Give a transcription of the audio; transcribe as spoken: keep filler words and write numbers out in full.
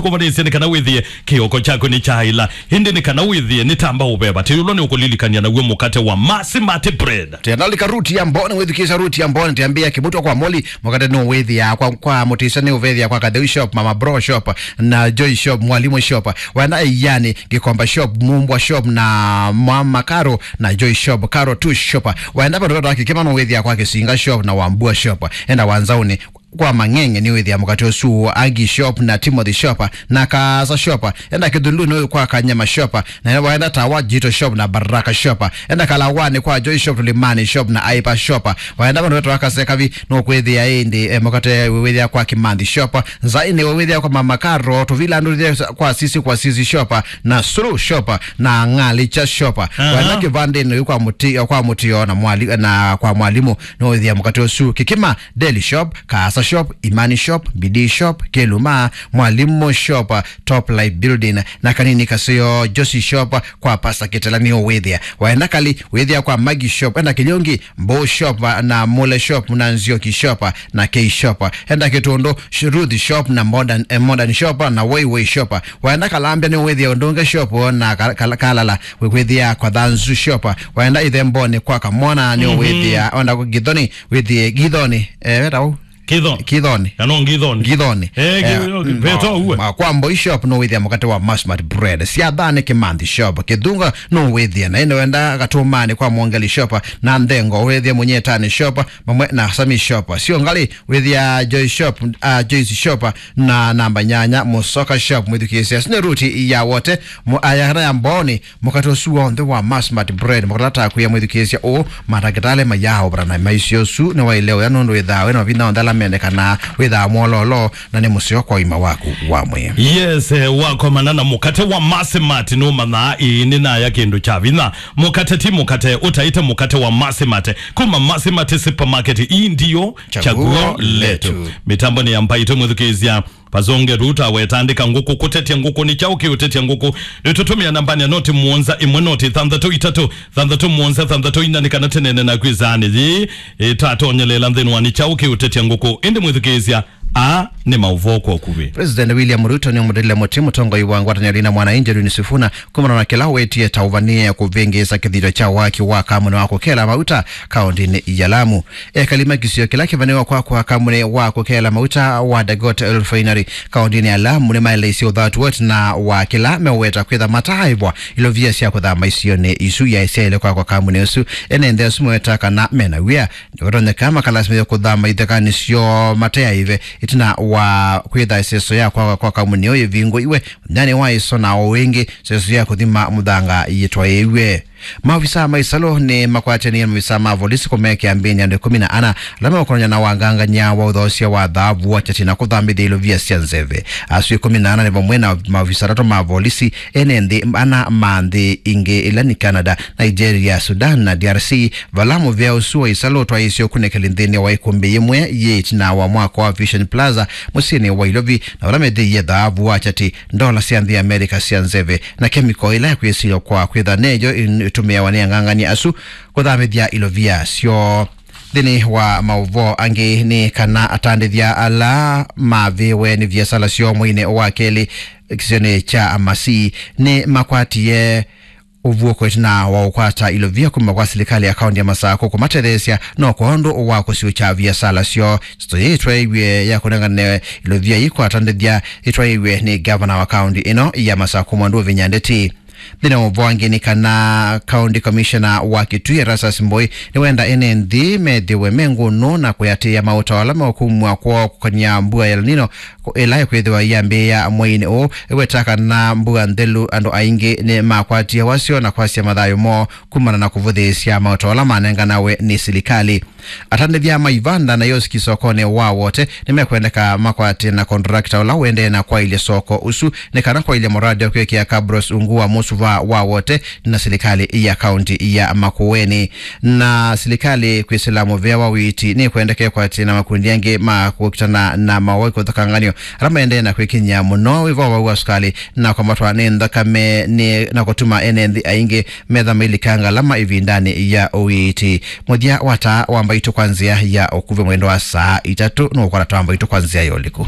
Kũmanyĩsya nĩ kana wĩthĩe kĩoko kyaku nĩ kyaĩla, ĩndĩ nĩ kana wĩthĩe nĩ tamba ũveva. Tĩũlwa nĩ ũkũlilikany'a naw'o mũkate wa Masimati bread. Tena lika Ruti ya Mboni, wĩthukĩĩsya Ruti ya Mboni, tĩambĩĩa kĩmutwa kwa Moli, mũkate nĩ ũwĩthĩa kwa, kwa Mũtĩsya, nĩ ũvethĩa kwa Katheu Shop, Mama Bro Shop, na Joy Shop, Mwalimu Shop. Wenda Ĩiani, Gĩkomba Shop, Mumbwa Shop, na Mama Karo, na Joy Shop, Karo tu Shop. Wenda vandũ vetwa Kĩkĩma, nĩ ũwĩthĩa kwa Kĩsinga Shop, na Wambua Shop. Enda Wanzaũnĩ, kwa Mang'eng'e nĩ wĩthĩa mũkate ũsu Agi Shop na Timothy Shop na Kaasa Shop. Enda Kĩthũlũnĩ kwa Kanyama Shop, na waenda Tawa Jito Shop na Baraka Shop. Enda Kalawani kwa Joy Shop, Tulimani Shop na Aipa Shop. Waenda vandũ vetwa Kasekavi, nũkwĩthĩa ĩndĩ, eh, mũkate wĩthĩa kwa Kimanthi Shop. Nzainĩ wĩthĩa kwa Mama Karo, Tũvila ndũthĩa kwa Sisi kwa Sisi Shop na Sulu Shop na Ng'alicha Shop. Aha. Waenda Kĩvandĩnĩ kwa Mũti-, kwa Mũtio na mwali-, na kwa Mwalimu, nũwĩthĩa mũkate ũsu Kĩkĩma, Deli Shop, Kaasa Shop, Imani Shop, Bidii Shop, Kĩluma, Mwalimu Shop, Top Life Building, na kanini kaseo Josi Shop kwa Pasta Kĩtela nĩ ũwĩthĩa. Waenda Kali, wĩthĩa kwa Magi Shop, enda Kĩlyongi, Mbo Shop, na Mule Shop, na Nzioki Shop, na K Shop. Enda Kĩtũndũ, Sh-, Ruth Shop, na Modern, eh, Modern Shop, na Way Way Shop. Waenda Kalambya nĩ ũwĩthĩa Ũndũnge Shop, na Ka-, Ka-, Kalala, wĩkwĩthĩa kwa Thanzu Shop. Waenda Ithemboni kwa Kamwana nĩ Mhm. ũwĩthĩa, wenda Githoni, wĩthĩe Githoni, eh, weta ũ? Kithoni. Kithoni. Kana Ngithoni. Ngithoni. Eh, Eh, Gi-, mm, Veto uwe. Ma, kwa Mboi Shop nũwĩthĩa mũkate wa Masmat Bread. Siathani Kimanthi Shop. Kithunga nũwĩthĩa. Na ĩndĩ wenda Katumani kwa Mwongeli Shop. Na Nthengo wĩthĩa Mũnyetani Shop. Mamwe na Sami Shop. Sio ngali wĩthĩa Joy Shop, ah, Joyce Shop. Na namba nyanya Musoka Shop. Mwĩthukĩĩsya. Sine ruti ya wote. Mu-, aya kana ya Mboni. Mũkate ũsu w'onthe wa Masmat Bread, mũkate ta kwĩa mwĩthukĩĩsya ũũ, mandakĩtalĩ mayaaũvana na maisyo ũsu nĩwaĩle ũya nũndũ wĩthaa wĩ na mavinda onthe ala mendekanaa, wĩthaa mwololo, na nĩ mũseo kwa ũima waku wa mwĩĩ. Yes, eh, wakomana na mũkate wa Masmat nũmanyaa ĩĩ nĩnaya kĩndũ kya vinya. Mũkate ti mũkate, ũtaĩte mũkate wa Masmat. Kuma Masmat Supermarket, ii ndio chaguo letu. Mĩtambo nĩ ya Mbaitũ mwĩthukĩĩsya. Vazonge Ruta wetandĩka ngũkũ, kũtetya ngũkũ nĩ kyaũ kĩũtetya ngũkũ? Nĩtũtũmĩa nambani ya noti mũonza ĩmwe noti thanthatũ itatũ thanthatũ mũonza thanthatũ ina nĩ kana tũneene naku ĩsaanĩ yĩĩ ĩtatonyelela nthĩnĩ wa nĩ kyaũ kĩũtetya ngũkũ. Ĩndĩ mwĩthukĩĩsya, aa nĩ maũvoo kwa ũkuvĩ. President William Ruto nĩũmũtĩlile mũtĩ mũtongoi wa ngwatanĩo ya Linda Mwananchi Edwin Sifuna kumana na kĩla wetie ta ũvanie kũvĩngĩĩsa kĩthito kya waki wa kamũnĩ wa kũkela mauta kaũndĩnĩ ya Lamu. Ekali ma kĩsio kĩla kĩvanĩwa kwakwa kamũnĩ wa kũkela mauta wa Dagote Refinery kaũndĩnĩ ya Lamu nĩmaeleisye ũthatu woti na wa kĩla meũweta kwĩtha mataaĩvwa ilovia sya kũthama isionĩ isu yaĩ syaĩle kwakwa kamũnĩ ũsu. Ene nthĩ asu meweta kana mena wia nĩvatonyeka makalasimĩthya kũthama ithekanĩ syoo mateaĩve ĩtina wa kwĩtha ĩseso ya kwakwa kwa kamũnĩ ũyũ ĩvingũiwe nyanĩ wa ĩso na o ĩngĩ ĩseso ya kũthima mũthanga yĩtwaĩĩw'e. Maovisaa ma ĩsalũ nĩmakwatĩanĩe na maovisaa ma volisi kũmekĩa mbĩnĩ andũ ĩkũmi na ana ala meũkonany'a na wangangany'a wa ũthoosya wa thaavu wa kyati na kũthambĩthya ilovia sya nzeve. Asu ĩkũmi na ana nĩ vamwe na maovisaa atatũ ma volisi, ene nthĩ ana ma nthĩ ingĩ ila nĩ Canada, Nigeria, Sudan na D R C, vala mũvĩa ũsu wa ĩsalũ ũtwaĩĩsye ũkunĩkĩli nthĩnĩ wa ĩkũmbĩ yĩmwe yĩ ĩtina wa mwako wa Vision Plaza mũsyĩnĩ wa Ilovi, na vala methĩie thaavu wa kyati, ndola sya nthĩ ya Amerika sya nzeve, na kemiko ĩla ĩkwĩsilwa kwa kwĩtha neyo ĩtũmĩawa nĩ ang'ang'ani asu kũthamĩthya ilovia syoo. Nthĩnĩ wa maũvoo angĩ nĩ kana atandĩthya ala mavĩwe nĩ viasala syoo mweinĩ wa kelĩ kĩsionĩ kya Amasi nĩ makwatie ũvuũko ĩtina wa ũkwata ilovia kuma kwa silikalĩ ya kaũntĩ ya Masakũ kũmatetheesya no kwa ũndũ wa kũsiũkya viasala syoo. Ndeto yĩĩ ĩtwaĩiw'e ya kũnengane ilovia yĩkwatandĩthya ĩtwaĩiw'e nĩ ngavana wa kaũntĩ ĩno ya Masakũ Mwandu Vinya Ndeti. Nthĩnĩ wa ũvoo angĩ nĩ kana County Commissioner wa Kitui Erastus Mboi nĩwenda ene nthĩ methĩwe me ngũnũ na kwĩatĩĩa maũtao ala meũkumw'a kwoo kũkany'a mbua ya El Nino ĩla ĩkwĩthĩwa yambĩĩa mweinĩ ũũ. Ĩweta kana mbua nthelu andũ aingĩ nĩ makwatie wasyo na kwasya mathayũ moo kumana na kũvũthĩĩsya maũtao ala manenganawe nĩ silikalĩ. Atandĩthya ma ivanda na ioski sokonĩ wa Wote nĩmekwendeka makwatĩe na contractor ũla ũendee na kwaĩlya soko ũsu nĩ kana kwaĩlya mũradi wa kwĩkĩa kabros ungu wa mũsuva wa Wote na silikalĩ ya kaũntĩ ya Makueni. Na silikalĩ kwĩsĩla mũvea wa ũiiti nĩkwendeka ĩkwatĩe na makundi angĩ ma kũkitana na mawau kũthũkanganyo ala maendee na kwĩkinyĩa mũno wĩva wa wau wa sukali na kwambatwa nĩ nthakame nĩ na kũtuma ene nthĩ aingĩ metha mailikanga lama ĩvindanĩ ya ũiiti. Mũthya wa taa wa Mbaitũ kwa nzĩa ya ũkuvĩ mwendo wa saa itatũ nũũkwata taa wa Mbaitũ kwa nzĩa ya ũliku.